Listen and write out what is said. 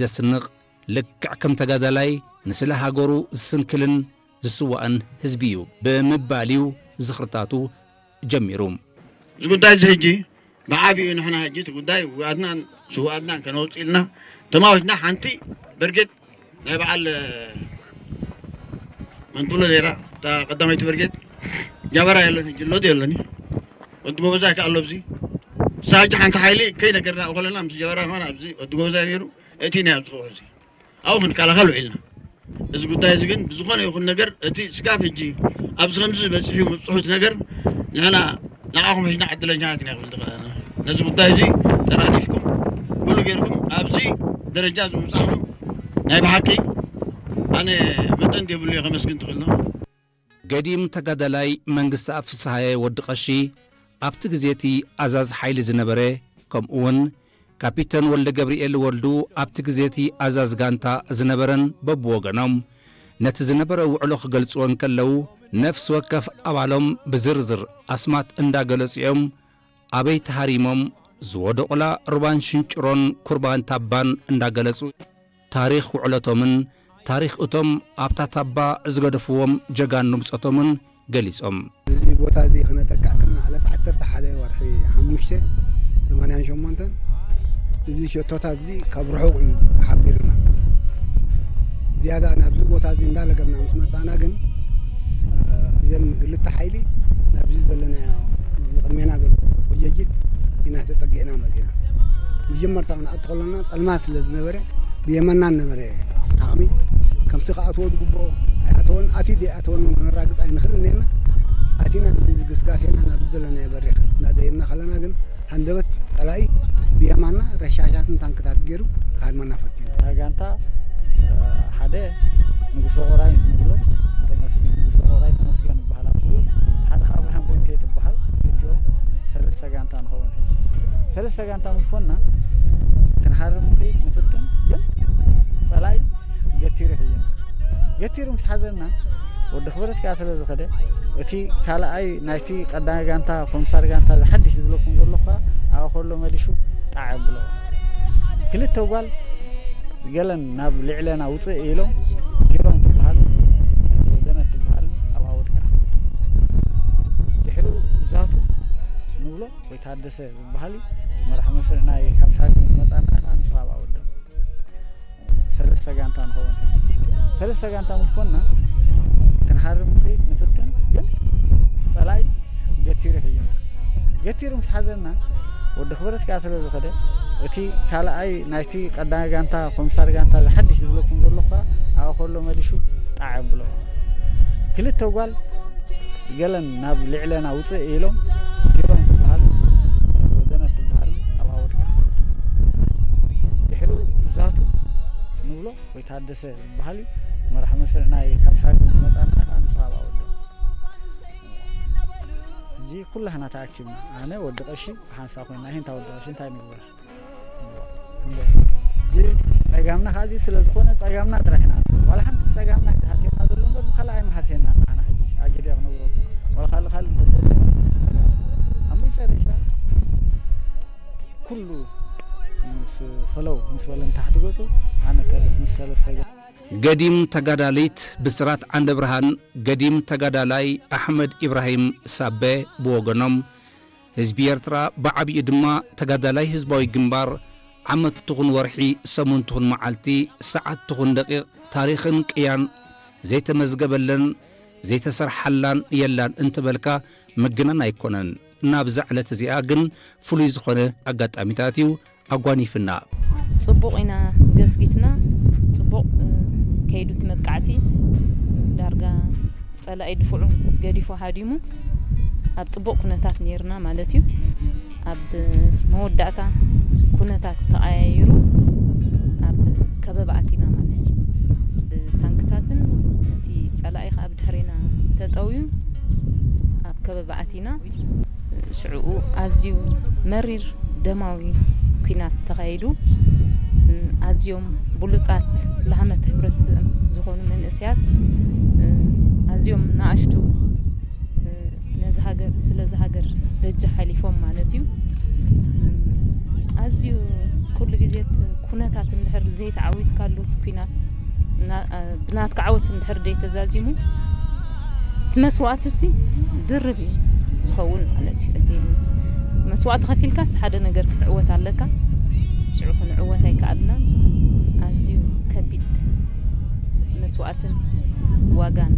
ዘስንቕ፣ ልክዕ ከም ተጋዳላይ ንስለ ሃገሩ ዝስንክልን ዝስዋእን ህዝቢ እዩ ብምባል እዩ ዝኽርታቱ ጀሚሩ። እዚ ጉዳይ እዚ ሕጂ ብዓቢኡ ንሕና ሕጂ እቲ ጉዳይ ውኣድናን ስውኣድናን ከነውፅእ ኢልና ተማዊትና ሓንቲ በርጌድ ናይ በዓል መንቱሎ ዜራ እታ ቀዳመይቲ በርጌድ ጃበራ የለን ሕጂ ሎድ የለን ወዲ ጎበዛ ይከኣሎ ኣብዚ ሳጅ ሓንቲ ሓይሊ ከይነገርና ከለና ምስ ጀበራ ሆን ኣብዚ ወዲ ጎበዛ ነይሩ እቲ ናይ ኣብዚ ከውሕዚ ኣብኡ ክንከላኸል ውዒልና። እዚ ጉዳይ እዚ ግን ብዝኾነ ይኹን ነገር እቲ ስጋብ ሕጂ ኣብዚ ከምዚ በፂሑ ምብፅሑት ነገር ንሕና ንዓኹም ሕጅና ዕድለኛታት ኢና ክብል ዝኽእል ነዚ ጉዳይ እዚ ተራዲፍኩም ኩሉ ገይርኩም ኣብዚ ደረጃ እዚ ምብፃሕኩም ናይ ብሓቂ ኣነ መጠን የብሉ እየ ከመስግን ትኽእል ነው። ገዲም ተጋዳላይ መንግስተኣብ ፍስሃየ ወዲ ቀሺ ኣብቲ ግዜ እቲ ኣዛዚ ሓይሊ ዝነበረ፣ ከምኡውን ካፒተን ወልደ ገብርኤል ወልዱ ኣብቲ ግዜ እቲ ኣዛዚ ጋንታ ዝነበረን በብወገኖም ነቲ ዝነበረ ውዕሎ ክገልጽዎ እንከለዉ፣ ነፍሲ ወከፍ ኣባሎም ብዝርዝር ኣስማት እንዳገለጹ እዮም ኣበይ ተሃሪሞም ዝወደቑላ ሩባን ሽንጭሮን ኩርባን ታባን እንዳገለጹ ታሪኽ ውዕለቶምን ታሪኽ እቶም ኣብታ ታባ ዝገደፍዎም ጀጋኑ ብጾቶምን ገሊጾም። እዚ ቦታ እዚ ክነጠቅዕ ከለና ዕለት ዓሰርተ ሓደ ወርሒ ሓሙሽተ ሰማንያን ሸሞንተን እዚ ሸቶታት እዚ ካብ ርሑቕ እዩ ተሓቢርና። ዝያዳ ናብዚ ቦታ እዚ እንዳለገብና ምስ መጻና ግን እዘን ክልተ ሓይሊ ናብዚ ዘለናዮ ቅድሜና ዘሎ ቁጀጅት ኢና ተጸጊዕና መጺና። መጀመርታ ክንኣቱ ከለና ጸልማት ስለ ዝነበረ ብየማና ነበረ ዓቕሚ ከምቲ ክኣትዎ ዝግብኦ ኣይኣተወን ኣትዩ ደይኣተወን እውን ክነራግጽ ኣይንኽእል ነርና። ኣቲና እዚ ግስጋሴና ናብ ዝደለናዮ በሪኽ እናደየብና ከለና ግን ሃንደበት ጸላኢ ብየማና ረሻሻትን ታንክታት ገይሩ ክሃድመና ፈቲኑ። እታ ጋንታ ሓደ ንጉሶ ቆራይ ንብሎ ተመስገን ንጉሶ ቆራይ ተመስገን ይበሃል ኣቦኡ። ሓደ ከኣ ኣብርሃም ጎንኬ ትበሃል ክልቲኦም ሰለስተ ጋንታ ንኸውን ሕጂ። ሰለስተ ጋንታ ምስ ኮንና ክንሃርም ንኽእል ንፍትን ግን ጸላኢ ገቲሩ ሒዙና። ገቲሩ ምስ ሓዘና ወዲ ክብረት ከኣ ስለ ዝኸደ እቲ ካልኣይ ናይቲ ቀዳማይ ጋንታ ኮምሳር ጋንታ ዝሓድሽ ዝብለኩም ዘለኹ ከኣ ኣብኡ ከሎ መሊሹ ጣዕ ኣብሎ። ክልተ ጓል ገለን ናብ ልዕለና ውፅእ ኢሎም ኪሮም ትበሃል ወገነት ትበሃል ኣብኣ ወድቃ። ድሕሪኡ ዛቱ ንብሎ ወይ ታደሰ ዝበሃል እዩ መራሕ መስርዕ ናይ ካብ ሳግም ዝመፃና ከዓ ንሱ ኣብኣ ወደም ሰለስተ ጋንታ ንኸውን ሕጂ ሰለስተ ጋንታ ምስ ኮንና ክንሃርም ንኽእል ንፍትን ግን ፀላኢ ገቲሩ ሒዙና ገቲሩ ምስ ሓዘና ወዲ ክብረት ከኣ ስለ ዝኸደ እቲ ካልኣይ ናይቲ ቀዳማይ ጋንታ ኮምሳር ጋንታ ዝሓድሽ ዝብለኩም ዘለኹ ከኣ ኣብኡ ከሎ መሊሹ ጣዕ ኣብሎ ክልተ ጓል ገለን ናብ ልዕለና ውፅእ ኢሎም ኪሮም ትበሃል ወገነት ትበሃል ኣብኣ ወድቃ ድሕሪኡ ዛቱ ንብሎ ወይ ታደሰ ዝበሃል እዩ መራሕ መስርዕ ናይ ካብ ሳግም ዝመፃና ከዓ ንሱ ኣብኣ ወዶ ሕጂ ኩላህና ተኣኪብና ኣነ ወዲ ቀሺ ሓንሳ ኮይና ሂንታ ወዲ ቀሺ እንታይ ንግበር እዚ ጸጋምና ከዚ ስለ ዝኾነ ጸጋምና ጥራሕ ኢና ዋላ ሓንቲ ጸጋምና ይሃስየና ዘሎ እምበር ብካልእ ኣይመሃስየና ንዓና ሕጂ ኣጊደ ክነግረኩም ዋላ ካልእ ካልእ እንተዘሎ ኣብ መጨረሻ ኩሉ ምስ ፈለው ምስ በለ ንታሕቲ ገጹ ኣነ ተርፍ ምስ ሰለስተ ገ- ገዲም ተጋዳሊት ብስራት ዓንደ ብርሃን ገዲም ተጋዳላይ ኣሕመድ ኢብራሂም ሳበ ብወገኖም ህዝቢ ኤርትራ ብዓቢኡ ድማ ተጋዳላይ ህዝባዊ ግንባር ዓመት ትኹን ወርሒ ሰሙን ትኹን መዓልቲ ሰዓት ትኹን ደቂቕ ታሪኽን ቅያን ዘይተመዝገበለን ዘይተሰርሓላን የላን እንተበልካ ምግናን ኣይኮነን። ናብዛ ዕለት እዚኣ ግን ፍሉይ ዝኾነ ኣጋጣሚታት እዩ ኣጓኒፍና። ጽቡቕ ኢና ገስጊስና፣ ጽቡቕ ከይዱ እቲ መጥቃዕቲ ዳርጋ ጸላኢ ድፍዑ ገዲፉ ሃዲሙ ኣብ ጽቡቕ ኩነታት ነይርና ማለት እዩ። ኣብ መወዳእታ ኩነታት ተቐያይሩ ኣብ ከበባ ኣቲና ማለት እዩ። ብታንክታትን እቲ ጸላኢ ከኣ ብድሕሬና ተጠውዩ ኣብ ከበባ ኣቲና። ሽዕኡ ኣዝዩ መሪር ደማዊ ኲናት ተኻይዱ። ኣዝዮም ብሉጻት ላህመት ሕብረተሰብ ዝኾኑ መንእሰያት ኣዝዮም ንኣሽቱ ነዚ ሃገር ስለዚ ሃገር በጃ ሓሊፎም ማለት እዩ። ኣዝዩ ኩሉ ግዜ ኩነታት እንድሕር ዘይተዓዊትካሉ እቲ ኩናት እና- ብናትካ ዓወት እንድሕር ዘይተዛዚሙ እቲ መስዋእቲ ሲ ድርብ እዩ ዝኸውን ማለት እዩ። እቲ መስዋእቲ ከፊልካስ ሓደ ነገር ክትዕወት ኣለካ። ሽዑ ክንዕወት ኣይከኣልናን። ኣዝዩ ከቢድ መስዋእትን ዋጋን